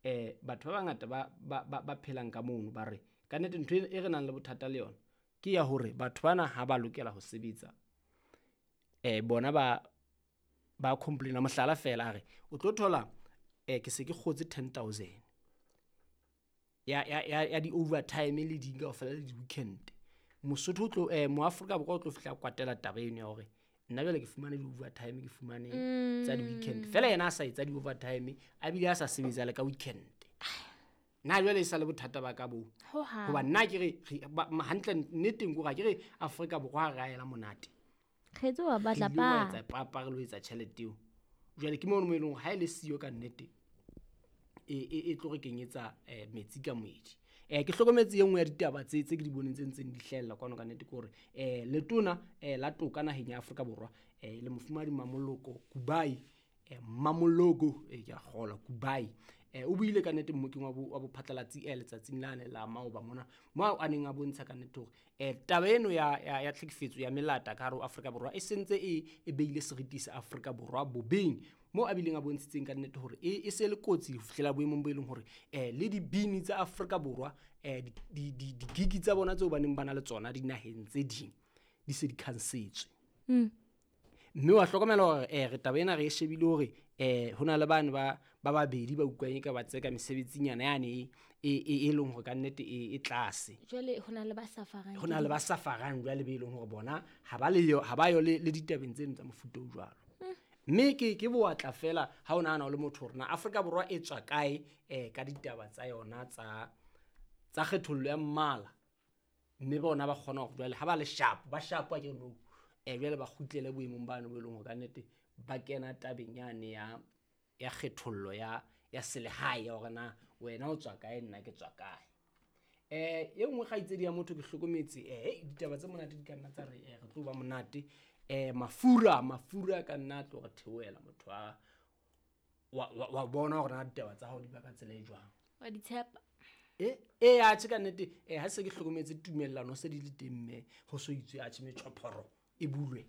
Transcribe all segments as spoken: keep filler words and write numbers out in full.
um batho ba bangata ba ba ba ba phelang ka mono ba re ka nnete ntho e re nang le bothata le yona ke ya hore batho bana ha ba lokela ho sebetsa um bona ba ba complaina. Mohlala fela a re o tlo thola um ke se ke kgotse ten thousand ya ya ya ya di-overtime le ding kaofela le di-weekend. Mosotho o tlo um moAfrika Borwa o tlo fihla kwatela taba eno ya hore nna jwale ke fumane di-overtime, ke fumane tsa di-weekend fela, yena a sa etsa di-overtime a bile a sa sebetsa le ka weekend. Nna jwale e sa le bothata ba ka boo, Hohang. Hoba nna ke re re- ba- ma- hantle nneteng kore ha ke re Afrika Borwa ha re a ela monate. Kgetse wa batla Re ile wa pa. etsa papa, re lo etsa tjhelete eo. Jwale ke mono mo e leng hore ha e le siyo ka nnete e e e tlo re kenyetsa um metsi ka moedi. um ke hlokometse e nngwe ya ditaba tse tse ke di boneng tse ntseng di hlahella kwano ka nnete ke hore um letona um la toka naheng ya Afrika Borwa um le mofumahadi Mamoloko Kubai, um Mamoloko e ke a kgolwa Kubai, um o buile ka nnete mmokeng wa bo- wa bophatlalatsi um letsatsing lane la maoba mona, mo a neng a bontsha ka nnete hore um taba eno ya ya ya tlhekefetso ya melata ka hare ho Afrika Borwa e sentse e e beile seriti sa Afrika Borwa bobeng, mo a bileng a bontshitseng ka nnete hore e e se le kotsi ho fihlela boemong bo e leng hore um le dibini tsa Afrika Borwa um di di di-gig tsa bona tseo ba neng ba na le tsona dinaheng tse ding di se di cancel-tswe. Mm. Mme wa hlokomela hore um re taba ena re e shebile hore um ho na le bane ba ba babedi ba utlwang e ka ba tseka mesebetsinyana yane e e e e leng hore ka nnete e e tlase. Jwale ho na le ba safarang. Ho na le ba safarang jwale be e leng hore bona ha ba le yo, ha ba yo le le ditabeng tseno tsa mofuta o jwalo. Mme ke ke bowatla fela ha o nahana o le motho hore na Afrika Borwa e tswa kae um ka ditaba tsa yona tsa tsa kgethollo ya mmala, mme bona ba kgona hore jwale ha ba le sharp, ba sharp a ke re nou um jwale ba kgutlele boemong bano bo e leng hore ka nnete ba kena tabeng yane ya ya kgethollo ya ya selehae ya hore na wena o tswa kae, nna ke tswa kae. um e nngwe kgaitsedi ya motho ke hlokometse um ditaba tse monate di ka nna tsa re eh, re tlo ba monate um mafura mafura a ka nna a tlo re theohela motho a wa wa- wa bona hore na ditaba tsa hao di ba ka tsela e jwang. Wa di tshepa. E e atjhe ka nnete um ha se ke hlokometse tumellano se di le teng, mme ho so itswe atjhe metjhophoro e bulwe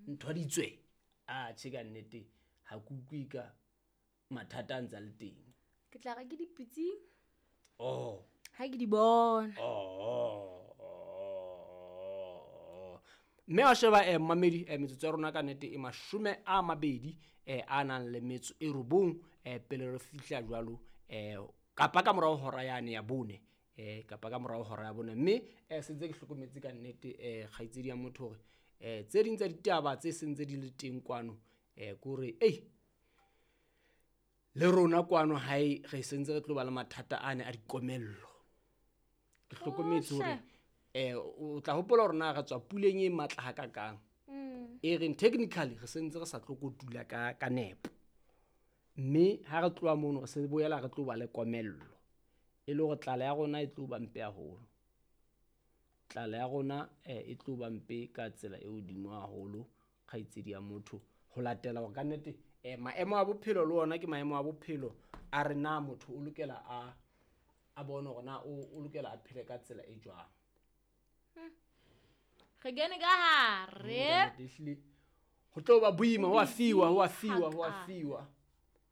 ntho di tswe, atjhe ka nnete ha ke utlwe ka mathata a ntsa le teng. Ke tla re ke dipitsing Oh. ha ke di bona. Oh, oh. Mme wa sheba um mamedi um metsotso ya rona ka nnete e mashome a mabedi um a nang le metso e robong um pele re fihla jwalo um kapa ka morao hora yane ya bone um kapa ka morao hora ya bone. Mme um sentse ke hlokometse ka nnete um kgaitsedi ya motho hore um tse ding tsa ditaba tse sentse di le teng kwano um ke hore ei le rona kwano hae re sentse re tlo ba le mathata ane a dikomello. Ke hlokometse hore eh o tla hopola hore na re tswa puleng e matla hakakang Mm. e reng technically re sentse re sa tlo kotula ka ka nepo, mme ha re tloha mono re se boela re tlo ba le komello e le hore tlala ya rona e tlo ba mpe haholo. Tlala ya rona eh, e tlo ba mpe ka tsela e hodimo haholo kgaitsedi ya motho, ho latela hore ka nnete eh, maemo a bophelo le ona ke maemo a bophelo a re na motho o lokela a a bone hore na o o lokela a phele ka tsela e jwang. Re kene ka hare. Nnete, ehlile ho tlo ba boima, ho a fiwa, ho a fiwa, ho a Haka. fiwa.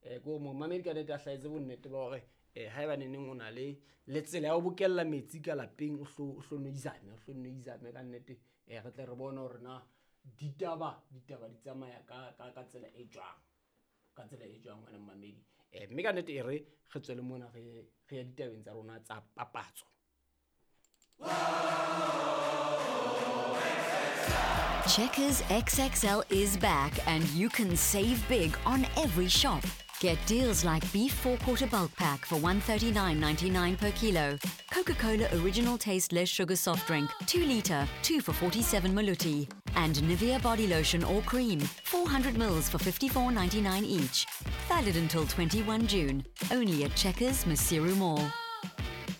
Eh ko momamedi ka nnete a hlahetse bonnete ba hore eh haeba neneng o na le le tsela ya ho bokella metsi ka lapeng, o hlo o hlo no izame, o hlo no izame ka nnete eh re tle re bone hore na ditaba ditaba di tsamaya ka ka ka tsela e jwang, ka tsela e jwang ngwana mmamedi. Eh mme ka nnete e re re tswele mona re re ya ditabeng tsa rona tsa papatso. Checkers X X L is back and you can save big on every shop. Get deals like beef four-quarter bulk pack for one thirty-nine ninety-nine per kilo, Coca-Cola original taste less sugar soft drink, two litre, two for forty-seven maluti, and Nivea body lotion or cream, four hundred mils for fifty-four ninety-nine each. Valid until twenty-one June, only at Checkers Maseru Mall.